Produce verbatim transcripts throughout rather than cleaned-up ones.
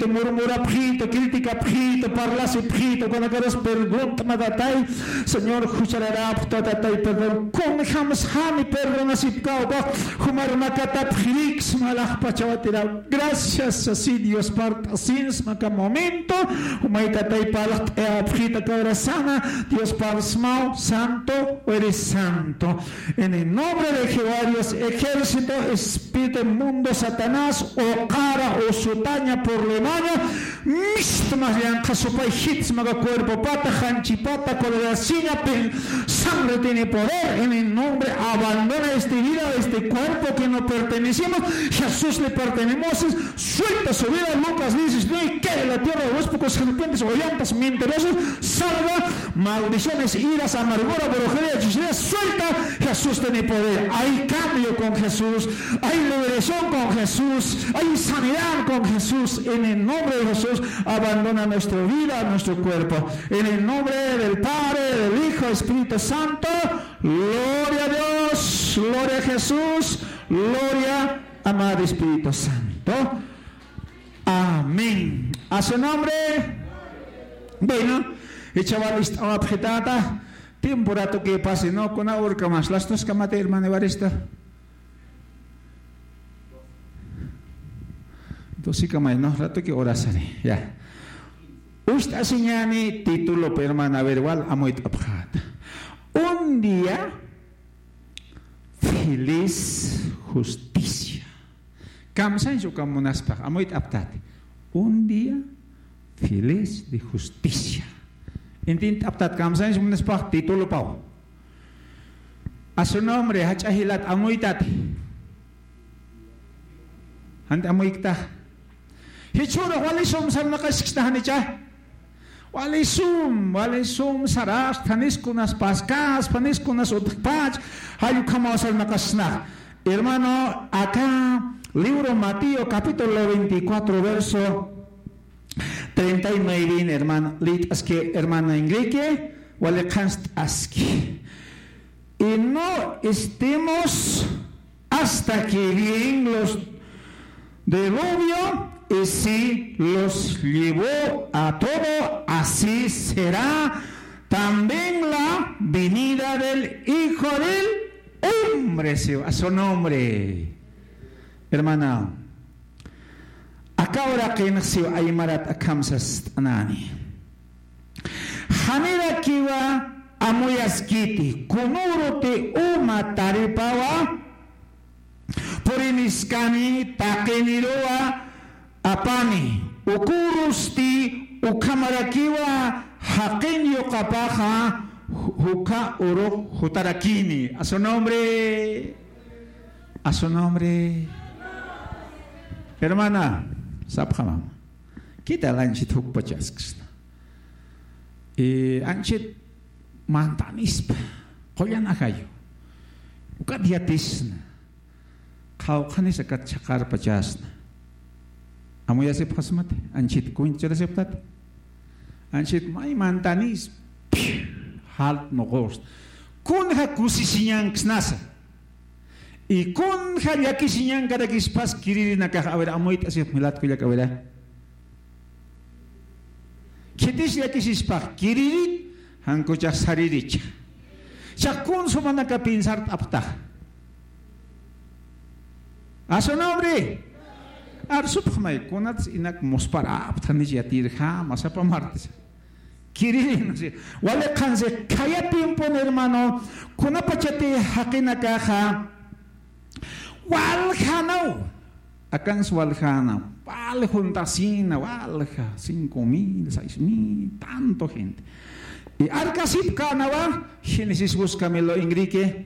murmurapxitu, criticapxitu, parlasipxitu, ukanakarus pregunta mä Tatay, Señor, juchararapxta Tatay, perdón. Kunjams jani perdonasipkäw, jumar makatapxiriksma alaxpachawatiraw. Gracias, así Dios parlt'asinsma aka momento, jumay Tatay parlt'ayapxita aka hora sana, Dios parlsmaw, santo, eres santo. En el nombre de Jehová Dios, ejército, espíritu inmundo, Satanás, uqara, usutaña, problemaña, mistmas llankha supay jitsma aka cuerpopata, janchipata, colorasiña, pen-, sangre tiene poder, en el nombre, abandona este vida, este cuerpo que no pertenecemos, Jesús le pertenecemos, suelta su vida, Lucas diecinueve, que la tierra de los pocos serpientes, hollantas, mentirosos, salva, maldiciones, iras, amargura, brujería, hechicería, suelta, Jesús tiene poder. Hay cambio con Jesús, hay liberación con Jesús, hay sanidad con Jesús. En el nombre de Jesús, abandona nuestra vida, nuestro cuerpo. En el nombre del Padre, del Hijo, Espíritu Santo, gloria a Dios, gloria a Jesús, gloria, amado Espíritu Santo. Amén. A su nombre. Bueno, ichawal ist'awapxitata. Tiempo ratoki pasi, ¿no? Kuna urkamas, las dos kamati, hermano Evaristo. Dos kamay, ¿no? Ratoki orasani, ya. Ucht'asiñäni título, hermana, a ver, wal amuyt'apxäta. Un día feliz justicia. Kamsañs uka munaspax, amuyt'aptati. Un día feliz de justicia. Intint'aptat, kamsañs munaspax, títulopaw. A su nombre, jach'a jilat, amuytati. Janti amuykta. Jichhürux wali sum sarnaqaskista janicha. Wali sum, wali sum sarasta, nis kunas paskaspa, nis kunas utjpach, jall ukhamaw sarnaqasna. Hermano, acá, libro Mateo, capítulo veinticuatro, verso treinta y nueve, hermano, lït'aski, hermana Enrique, wali qhanst'aski. Y no estemos hasta que bien los diluvio, y si los llevó a todo, así será también la venida del Hijo del Hombre, sí, a su nombre. Hermana, aka uraqinx siw aymarat akham sast'anani. Janirakiwa amuyaskiti, kunüruti uma taripawa puriniskani, taqiniruwa apani, ukürusti ukhamarakiwa jaqin yuqapaxa ju-, jukha urux jutarakini. A su nombre. A su nombre. Hermana, sapxamam. ¿Qué tal anchhit jukpachasksna? Eh, anchhit mantanispa, qullan ajayu. Ukat yatisna. Qhawqhanis akat chhaqarpachasna. Amuyasipxasmati, anchhit kuñchurasipxtati. Anchhit may mantanis, jalt nuqusna. Kunja kusisiñanksnasa. Y kunja llakisiñankarakispas kiririnakax, a ver, amuyt'asipxmi lat kullaka, a ver. Khitis llakisispax kiririt, jan kuchax sariricha. Chax kun sumanaka piensart'apxtax. A su nombre. Arsupxmay, kunats inak musparapxtanich yatirjama, sapa martes. Kiririn, sí. Wali qhansi, khaya tiempon, hermano, kunapachati jaqinakaxa waljanaw. Akans waljana, wal juntasina, walja, cinco mil, seis mil, tanto gente. Y arkasipkanawa, Génesis, búscamelo, Enrique.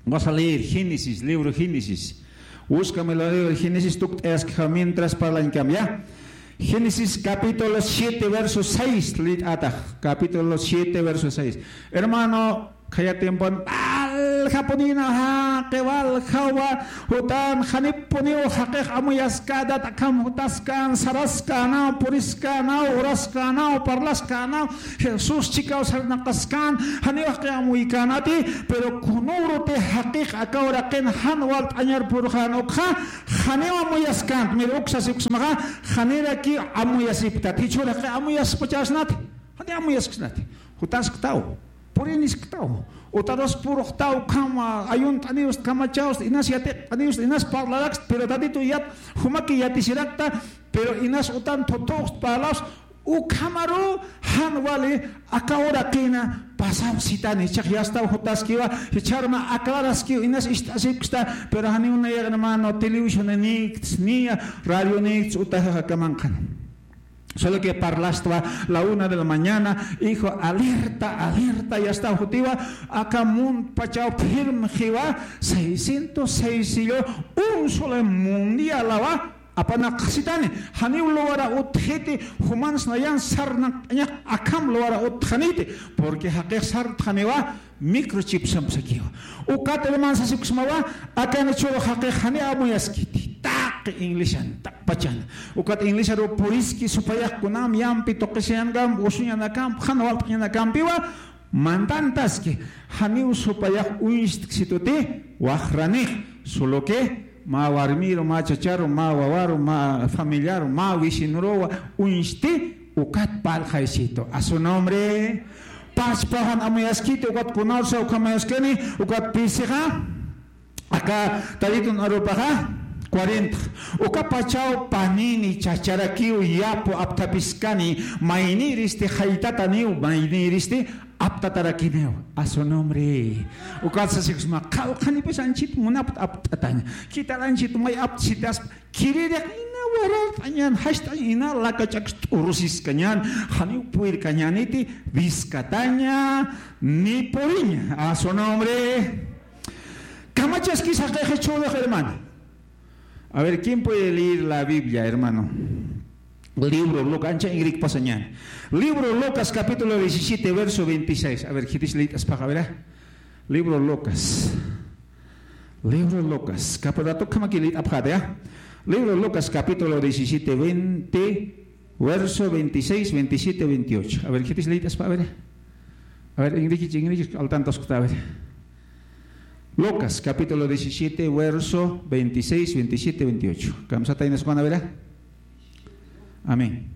Vas a leer Génesis, libro Génesis. Búscamelo, libro Génesis, tukt'ayaskja mientras parlañkam, ¿ya? Génesis capítulo siete, verso seis, lït'atax. Capítulo siete, verso seis. Hermano, khaya tiempon, Waljapunïna jaqi, waljawa, jutan janipuniw jaqix amuyaskätat, akham jutaskän, saraskänwa, puriskänwa, uraskänwa, parlaskänwa, Jesús chikaw sarnaqaskän, janiw jaqix amuykänati, pero kunüruti jaqix aka uraqin jan walt'añar purxän ukxa, janiw amuyaskänti, mir uksa sipksmaxa, janirakiw amuyasipktat, jichhür jaqix amuyaspachäsnati, janiw amuyaskänti, jutasktaw. Purinisktaw, utarus puruxtaw, ukham ayunt'aniwst, kamachawst, inas yatiqt'aniwst, inas parlarakst, pero Tatitu yat, jumaki yatisirakta, pero inas utan thuthuxt parlawst, ukhamaru jan wali aka uraqina pasawsitani, jichhax yastaw jutaskiwa, jichharma aclaraskiw, inas ist'asipksta, pero janiw nayax hermano, televisionïkts, niya radionïkts, utajax aka manqhan. Solo que parlastwa la una de la mañana, hijo, alerta, alerta, ya está, jutiwa, aka muntpachaw firme jiwa, seiscientos seis sillo, un solo mundialawa, apanaqsitani, janiw luwara utjiti, jumans nayan sarnaqt'añax akham luwara utjaniti, porque jaqix sartxaniwa, microchip sampsakiwa. Ukat hermano sasipksmawa, akan jichhüru jaqix janiw amuyaskiti. Taqi ingleshan, taqpachan. Ukat inglesaru puriski supayax kunam yampi tuqisiñanakam, usuñanakamp, jan walt'añanakampiwa, mantantaski. Janiw supayax uñstksituti, waxranix. Solo que, mä warmiru, mä chacharu, mä wawaru, mä familiaru, mä vecinoruwa uñsti, ukat parlxaysitu. A su nombre. Pachpaxan amuyaskiti, ukat kunawsa ukhamayaskani, ukat pisixa, aka Tatitun arupaxa, cuarenta. Uka pachaw panini chacharakiw yapu apthapiskani, maynïristi jaytataniw, maynïristi aptatarakiniw. A su nombre. Ukat sasipksma, qallqanipis anchhit munapta apt'ataña. Khitar anchhit may aptasitaspa, Khiririq ina warart'añan, jast'añ ina lakach'aks t'urusiskañan, janiw purirkañäniti, wiskataña, ni puriña. A su nombre. Kamachaskis jaqix jichhürux, hermano. A ver, ¿quién puede leer la Biblia, hermano? Libro Lucas, ancha ingrikpasañan. Libro Lucas, capítulo diecisiete, verso veintiséis. A ver, khitis liyt'aspaxa, a ver, ah. Libro Lucas. Libro Lucas, capítulo, toca aquí, a ver, ah. Libro Lucas, capítulo diecisiete, veinte, verso veintiséis, veintisiete, veintiocho. A ver, khitis liyt'aspa, a ver. A ver, ingrikich, ingrikich, al tanto escucha, a ver. Lucas, capítulo diecisiete, verso veintiséis, veintisiete, veintiocho. Kamsataynas, a ver, ah. Amén.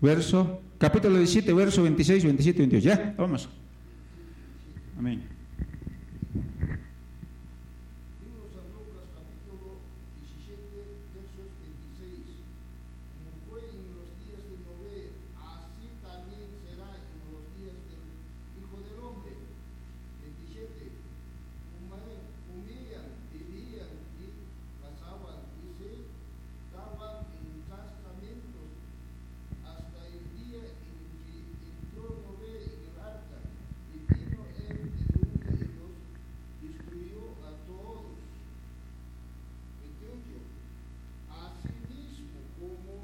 Verso, capítulo diecisiete, verso veintiséis, veintisiete, veintiocho. Ya, vamos. Amén. Libro San Lucas, capítulo diecisiete, versos veintiséis. Como fue en los días de Noé, así también será en los días del Hijo del Hombre. Veintisiete. Comer-, comían, bebían y cazaban y se daban en casamientos hasta el día en que entró Noé en el arca, y vino el diluvio y los destruyó a todos. Veintiocho. Asimismo, como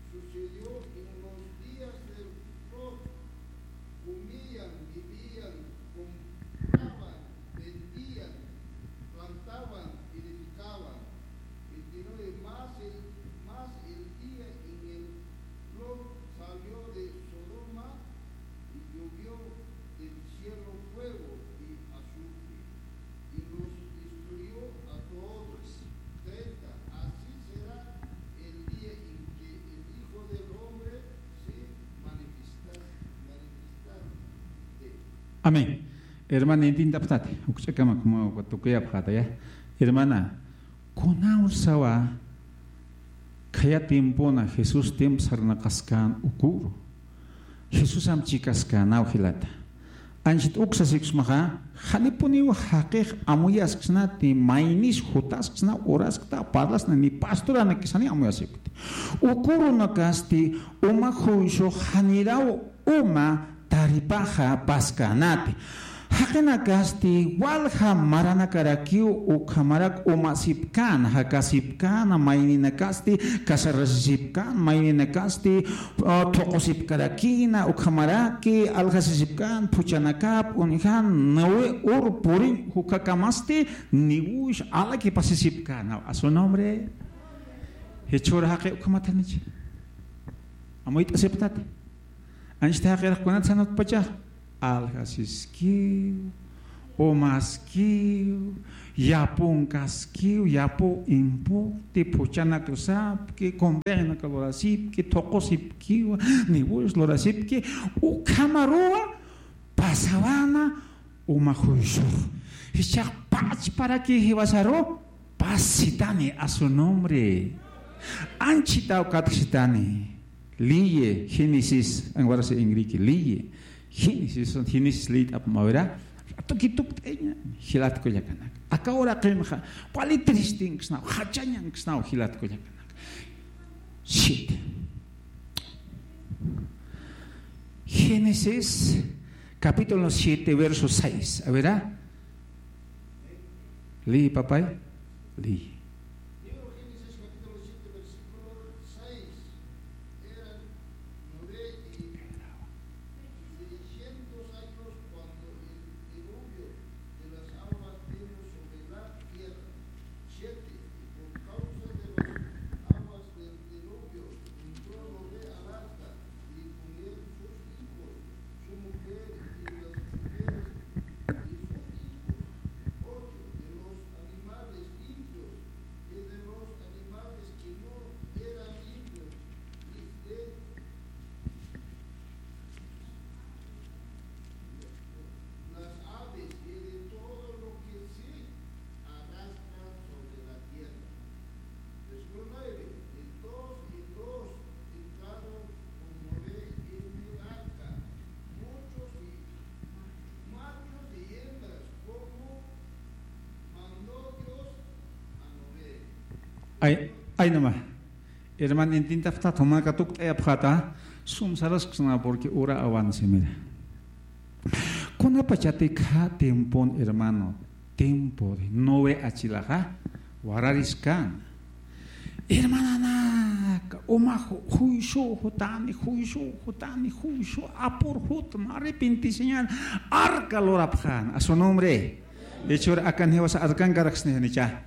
sucedió en los días de Lot, comían, bebían, compraban, vendían, plantaban, edificaban. Veintinueve. Más el, más el día en el Lot salió de Sodoma y llovió del cielo fuego y azufre, y los destruyó a todos. Treinta. Así será el día en que el Hijo del Hombre se manifestase, manifestase. Amén. Hermana, intintapxtati, ukch'akama como tukuyapxata, ya. Hermana, kunawsawa khaya tiempona Jesús tiempo sarnaqaskän uküru. Jesusam chikaskänaw jilata. Anchhit uksa sipksmaxa, janipuniw jaqix amuyasksnati, maynis jutasksna, uraskta, parlasna, ni pastoranakis jani amuyasipkti. Ukürunakasti uma juysux janiraw uma taripaxa paskänati. Jaqinakasti walja maranakarakiw ukhamarak umasipkän, jakasipkän, mayninakasti casarasisipkän, mayninakasti, ah, thuqusipkarakïna, ukhamaraki aljasisipkän, phuchhanakap uñjan, nawi ur puriñ jukakamasti, niwush alakipasisipkän, a su nombre. Jichhür jaqi ukhamatanicha. Amuyt'asipxtati. Anchhit jaqirux kunat sanatpacha. Aljasiskiw, umaskiw, yapunkaskiw, yapu impuqti, phuchhanakasipki, convenionak lurasipki, thuqusipkiw, niwush lurasipki, ukhamaruwa pasawana uma juysux. Jichhax pachparaki jiwasaru pasitani a su nombre. Anchhitaw katjasitani. Liyi, Génesis, anwarasi ingriki, liyi. Génesis, Génesis liyt'apxam a ver. Ratuki tukt'ayaña, jilat kullakanak. Aka uraqinxa, wali tristinksnaw, jachañanksnaw, jilat kullakanak. Siete. Génesis, capítulo siete, verso seis. A ver, ah. Lee, papay. Lee. Libro Génesis, capítulo siete, versículo seis. Eran Noé y seiscientos años cuando el diluvio de las aguas vino sobre la tierra. Siete, y por causa de las aguas del diluvio, entró Noé al arca, y con él sus hijos, su mujer y las mujeres de sus hijos. Ocho, de los animales limpios y de los animales que no eran limpios, y de las aves y de todo lo que se arrastra sobre la tierra. Versículo nueve. Entonces, entonces entraron con Noé en el arca, muchos y, machos y hembras, como mandó Dios a Noé. Ay, ay, nama. Hermano, intintapxta, tomaka tukt'ayapxäta, sum sarasksna, porque ura avance, mira. Kunapachati khä tiempon, hermano, tiempo de Noé achilaxa, warariskan. Hermananaka, uma ju-, juysüw jutani, juysüw jutani, juysüw apur jutma, arrepentisiñan, arca lurapxän, a su nombre. Jichhür akan jiwasa arcankarakisni janicha.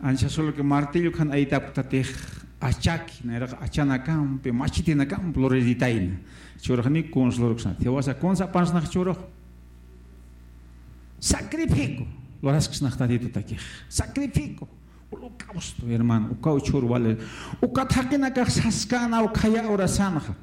Ancha solo que martillo kan aytapktatix achaki, nayraq achanakampi, machitinakampi luriritayna. Jichhürux janiw kunsa lurksna. Jiwasa kunsa apansnax jichhürux. Sacrificio. Lurasksnax Tatitutakix. Sacrificio. Holocausto, hermano. Ukaw jichhür wali. Ukat jaqinakax saskänwa khaya urasanxa.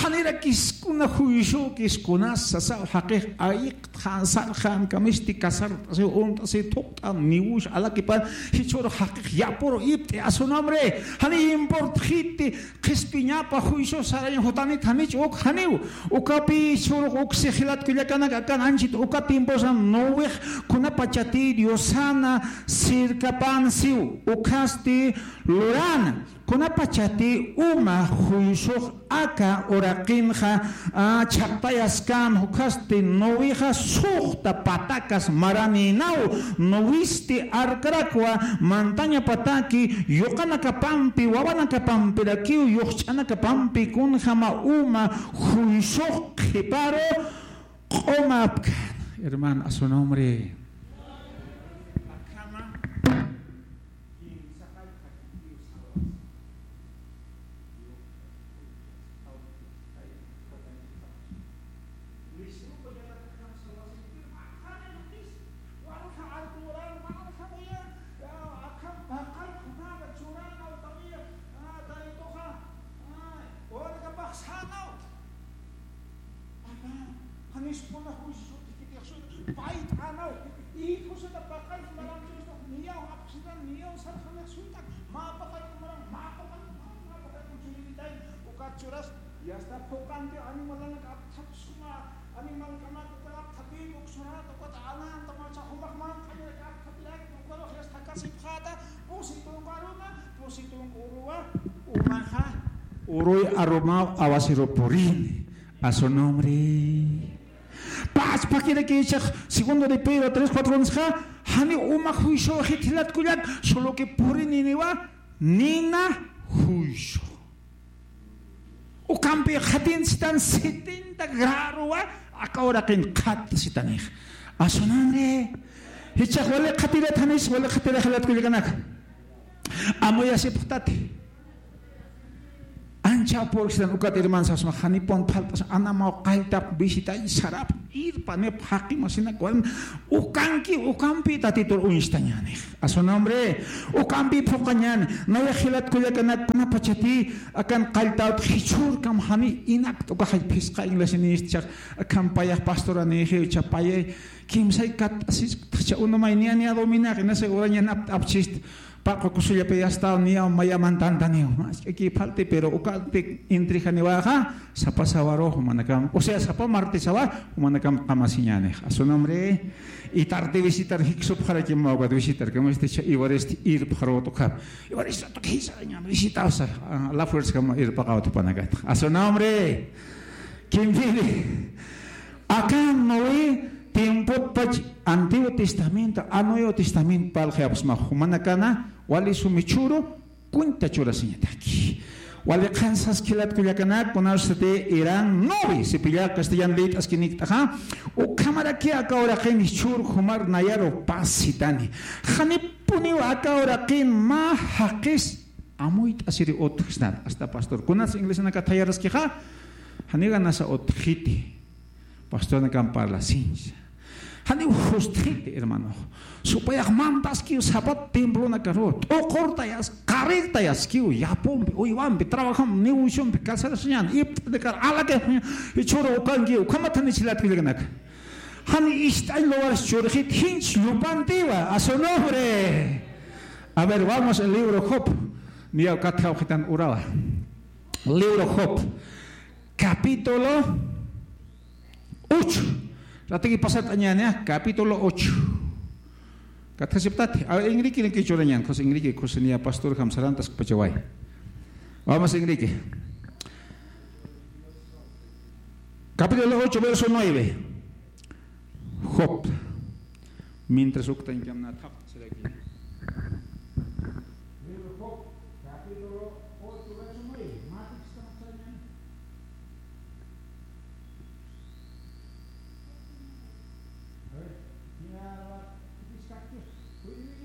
Janirakis kuna juysükis kunas sasaw jaqix ayiqtxän sarxän kamisti casart'asiw uñt'asiw thuqt'an niwush alakipan jichhürux jaqix yapuru ipt'i a su nombre. Janiy importxiti qhispiñapa juysü saraña jutanit janich uk janiw. Ukapi jichhürux uksi jilat kullakanak akan anchhit uka tiemposa Noex kunapachati Diosana sirkapan siw ukhasti lurana. Kunapachati uma juysux aka uraqinxa, a, chhaqtayaskan ukhasti Noexa suxta patakas maranïnaw, Noesti arkarakwa mantaña pataki yuqanakapampi, wawanakapampirakiw, yuxch'anakapampi kunjama uma juysux qhiparu q'umapkan. Hermano, a su nombre. Janispuna juicio sut'ikitix suyta, payt'anaw, hijosita paqallta maranchista, niyaw apxsitan, niyaw sarxanix suyta, mä paqallta maran, mä paqallta maran, mä paqallta churinitay, ukat churas, y hasta phuqanti animalanak apthapsuma, animalkanak ukat apthapï, uksurat, ukat alanta, macha jumax manq'añarak apthapirak, ukarux y hasta kasipxäta, pusi tunka aruma, pusi tunka uruwa, umaxa, uruy arumaw awasiru purini. A su nombre. Pachpakirakichax segundo de Pedro tres cuatro nisxa, jani uma juicio jithilat kullak, solo que purininiwa nina juicio. Ukampi qhatin sitan setenta gradowa, aka uraqin qhat sitanix. A su nombre. Jichhax wali qhatirat janis, wali qhatirax jilat kullakanaka. Amuyasipxtati. Ancha purkstan ukat hermanos, asma janipun faltas anamaw qalltap visitay sarap irpanip jaqi masina kuan ukanki ukampi tatitur uñstañanix. A su nombre, ukampi phuqañan, nayax jilat kullakanak kunapachati akan qalltawt jichhurkam jani inak t'ukaxay phisqa iglesia nistchax, akan payax pastora nixiw chapayay, kimsay kat asis, cha unumay niya niya dominax, inasa urañanap apchist, paqu kusullapi astaw niya maya mantantaniw, mas k'aki falti, pero ukanti intrigani waxa, sapa sawarux manakam, o sea, sapa martisawa, manakam qamasiñanix. A su nombre, y tarde visitar, jiksupxarakim mawkat visitar, como este cha Ivarist irpxarutuxa. Ivarist tukisa ñan visitawsa, a la fuerza como irpaqawtupanakat. A su nombre, quien vive. Akan Noé tiempotpach Antiguo Testamento, a Nuevo Testamento parlxayapxsma jumanakana, wali sumi chhuru, cuenta churasiñataki. Wali qhan saskilat kullakanak, kunasati eran nueve, sipilla castellan leyt'askinikt'axa, ukhamaraki aka uraqin jichhur jumar nayaru pasitani. Janipuniw aka uraqin mä jaqis amuyt'asiri utjsnat, hasta pastor. Kunas iglesianakat thayaraskixa, janiw ganasa utjiti. Pastoranakan parlasinsa. Janiw justjiti, hermano. Supayax mantaskiw sapat templonakaru. T'uqurtayas, qariktayaskiw, yapumpi, uywampi, trabajampi, negociompi, calzadasiñan, ipt'anikar, alakix, jichhuru ukankiw, ukhamat janichilat kullakanaka. Jani ist'añ lugares churxit, jinch llupantiwa, a su nombre. A ver, vamos al libro Job. Niyaw katjawxitan urawa. Libro Job, capítulo ocho. Ratiki pasat añaña, capítulo ocho. Katjasiptati. A ver, Enrique, Enrique churañan, José Enrique, José niya pastor, jam sarantas pachaway. Vamos, Enrique. Capítulo ocho, verso nueve. Job. Mientras uktañkamna thaq, será que. Libro Job, capítulo ocho, verso nueve. Matik estamos allá. A ver, mira, ¿qué dice aquí? Uy, uy, uy.